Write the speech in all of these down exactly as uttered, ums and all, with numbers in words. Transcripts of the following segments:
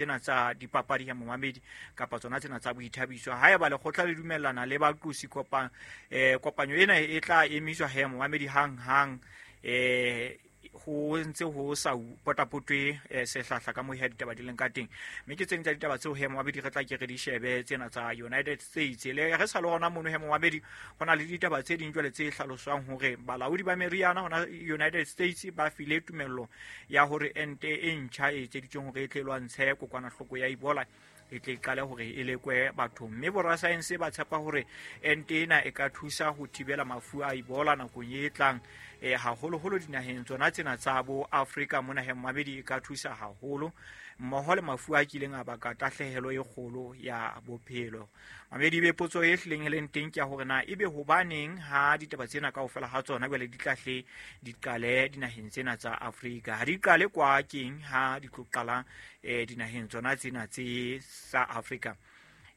Tsena tsa dipapadi ya momamedi kapa tsona tsena tsa boithabiso. Haeba lekgotla le dumellana le baqosi kopa eh kopanyo ena e tla emiswa he momamedi hang hang eh ho ntse ho sa potapotwe sehlahla ka mohi ditaba di leng ka teng. Mme ke tseng tsa ditaba tseo he momamedi re tla ke re di shebe tsena tsa United States. Le re sa le hona mono he momamedi ho na le ditaba tse ding jwale tse hlaloswang hore balaodi ba meriana hona United States ba file tumello ya hore ente e ntjha e etseditsweng hore e tle lwantshe kokwanahloko ya Ebola e tle qale hore e lekwe bathong. Mme borasaense ba tshepa hore ente ena e ka thusa ho thibela mafu a Ebola nakong e tlang eh haholoholo dinaheng tsona tsena tsa bo Afrika mona he momamedi e ka thusa haholo mmoho le mafu a kileng a baka tahlehelo e kgolo ya bophelo. Mamedi be potso e hlileng e leng teng ke ya hore na ebe hobaneng ha ditaba tsena kaofela ha tsona jwale di tlahle di qale dinaheng tsena tsa Afrika, ha di qale kwa keng ha di tlo qala eh dinaheng tsona tsena tse sa Afrika.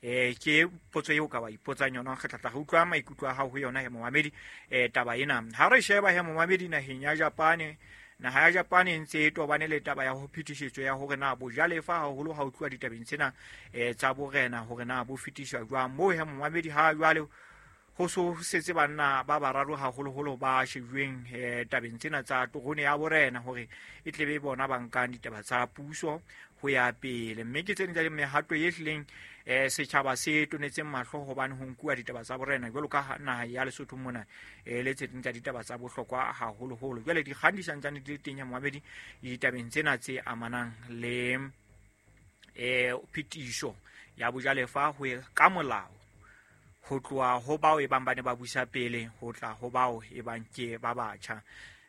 Eh ke potso eo ka ba ipotsang yona, re tla tla re utlwa maikutlo a hao ho yona he momamedi eh taba ena. Ha re sheba he momamedi naheng ya Japane, naha ya Japane e ntse e tobane le taba ya ho phetisetso ya hore na bojalefa haholo ha o tluwa ditabeng tsena eh tsa borena hore na bo fetiswa jwang. Moo he momamedi ha jwale ho so setse banna ba bararo haholoholo ba shejuweng eh tabeng tsena tsa terone ya borena hore e tle be bona ba nkang ditaba tsa puso ho ya pele. Mme ke tsena tsa mehato e hlileng eh setjhaba se tonetseng mahlo hobane ho nkuwa ditaba tsa borena jwalo ka naha ya Lesotho mona eh le tse ding tsa ditaba tsa bohlokwa haholoholo. Jwale dikgang di santsane di le teng ya momamedi ditabeng tsena tse amanang le eh phetiso ya bojalefa ho ka molao ho tloha ho bao e bang ba ne ba busa pele ho tla ho bao e bang ke ba batjha.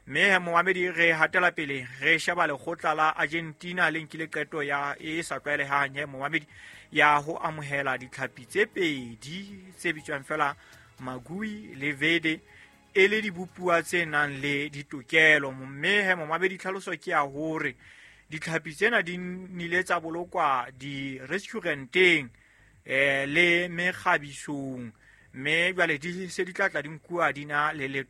Mme momamedi re hatela pele re sheba lekgotla la Argentina le nkile qeto ya e sa tlwaelehang he momamedi ya ho amohela ditlhapi tse pedi tse bitswang fela Magui le Vede e le dibopuwa tse nang le ditokelo. Mme he momamedi tlhaloso ke ya hore ditlhapi tsena di nile tsa bolokwa di-restauranteng eh le mekgabisong, mme jwale di se di tla tla di nkuwa di na le le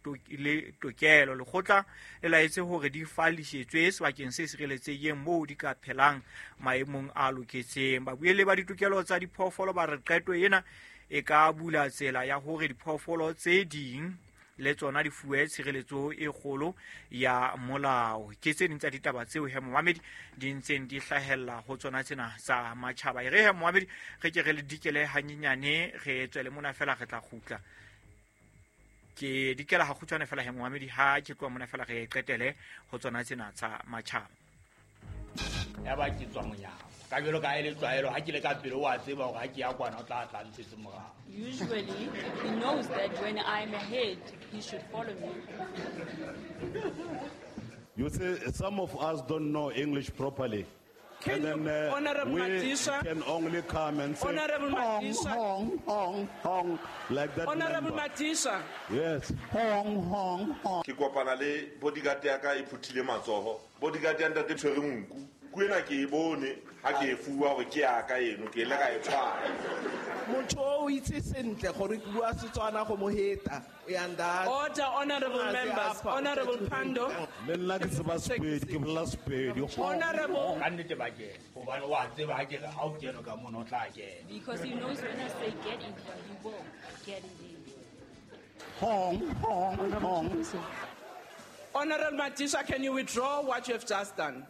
tokelo. Lekgotla le laetse hore di fallisetswe sebakeng se sireletsehileng moo di ka phelang maemong a loketseng. Babuelli ba ditokelo tsa diphoofolo ba re qeto ena e ka bula tsela ya hore diphoofolo tse ding le tsona di fuwe tshireletso e kgolo ya molao. Ke tse ding tsa ditaba tseo he momamedi di ntseng di hlahella ho tsona tsena tsa matjhaba. E re he momamedi re ke re le dikele hanyenyane re tswele mona fela re tla kgutla. Ke dikela ha kgutshwane fela he momamedi ha ke tloha mona fela re qetele ho tsona tsena tsa matjhaba. Ya ba ke tswa monyako ka jwalo ka e le tlwaelo ha ke le ka pele wa tseba hore ha ke ya kwana o tla tla ntshetse morao. Usually he knows that when I'm ahead he should follow me. You see, some of us don't know English properly. Can and then uh, Honorable we Madisha, can only come and say Honorable hong, Madisha, hong, hong, hong, like that. Honorable member. Madisha. Yes. Hong, hong, hong. Ke kopana le bodyguard ya ka e phuthile matsoho. Bodyguard ya ntate tshwere nku. Kuena ke e bone ha ke e fuwa hore ke ya ka eno ke ile ka e tshwara. Motho o itse sentle gore ke bua Setswana go mo heta. Uyanda. Order, honorable members. Honorable Pando. Le nna ke tseba Sepedi, ke bolela Sepedi. Honorable. Ka nnete ba kena hobane wa tseba ha ke re ha o kene ka mono o tla kena. Because he knows when I say get in here, he will get in there. Hong, hong, hong. Honorable Madisha, can you withdraw what you have just done?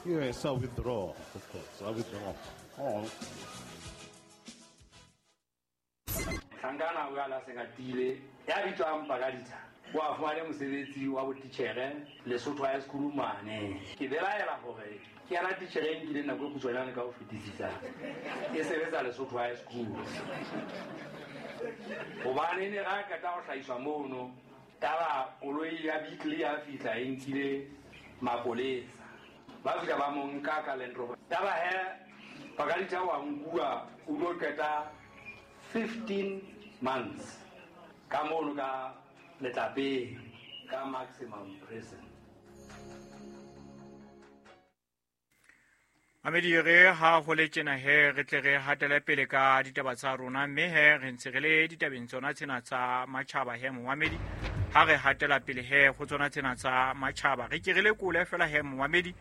Yes, I withdraw, of course. I withdraw. Oh. Sangana o ala sekatile ya bitswang Pakaditha wa fumane mosebetsi wa botitjhere Lesotho High School mane. Ke belaela hore ke yana titjhere e nkileng nako e kgutshwanyane ka ho fetisisa e sebetsa Lesotho High School. Hobane ne ra qeta ho hlahiswa mono taba koloi ya Beetle ya fihla e nkile mapolesa. Ba fihla ba mo nka ka Land Rover. Taba he Pakaditha wa nkuwa o lo qeta fifteen months ka mono ka letlapeng ka maximum prison. Amedi re ha ho le tjena he re tle re hatele pele ka ditaba tsa rona, mme he re ntse re le ditabeng tsona tsena tsa matjhaba he momamedi. Ha re hatela pele he ho tsona tsena tsa matjhaba re ke re lekole fela he momamedi